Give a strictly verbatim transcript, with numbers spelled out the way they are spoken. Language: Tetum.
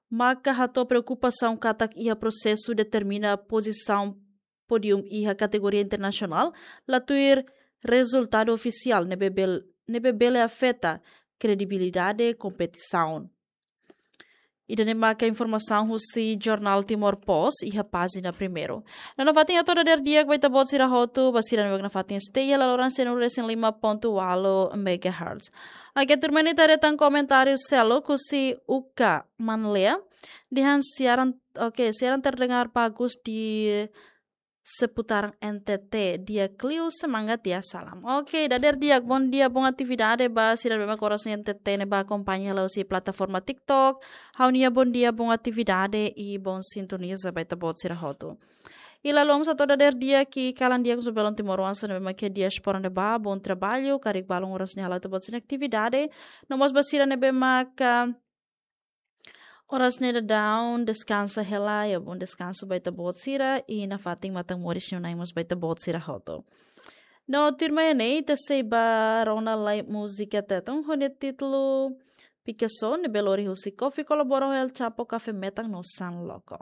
maka hato'o preokupasaun katak iha prosesu determina pozisaun pódium iha kategoria internasionál la tuir rezultadu ofisiál ne'ebé bel-, ne'ebé bele afeta kredibilidade kompetisaun. Ida-ne'e maka informasaun husi jornál Timor Post iha pájina primeiru. No nafatin hato'o dadeer di'ak ba ita-boot sira hotu, ba sira ne'ebé nafatin stay iha laloran cento e cinco ponto oito megahertz. Oke, tuirmai ne'e ita haree tan komentáriu seluk husi Uka Manlea. Dehan siaran, oke, siaran terdengar bagus di seputaran N T T, di'ak liu, semangat ya, salam. Oke, dadeer di'ak, bondia, bon atividade ba sira ne'ebé mak oras ne'e N T T ne'e bá akompaña hela husi plataforma TikTok. Ha'u-nia bondia, bon atividade i bon sintoniza ba ita-boot sira hotu. I lalomos hato'o dadeer di'ak kalan di'ak husi belun timoroan sira ne'ebé mak iha diáspora ne'ebá, bom trabalho, karik balun oras ne'e hala'o ita-boot sira-nia atividade. No mós ba sira ne'ebé mak oras ne'e daudaun deskansa hela, ya, bom deskansu ba ita-boot sira, i nafatin matan moris nia Na'i mós ba ita-boot sira hotu. No tuirmai ne'e ita sei bá rona lai múzika Tetun ho nia títulu Picasso, ne'ebé lori husi Kofi kolabora ho El Chapo, Café Metan no San Loco.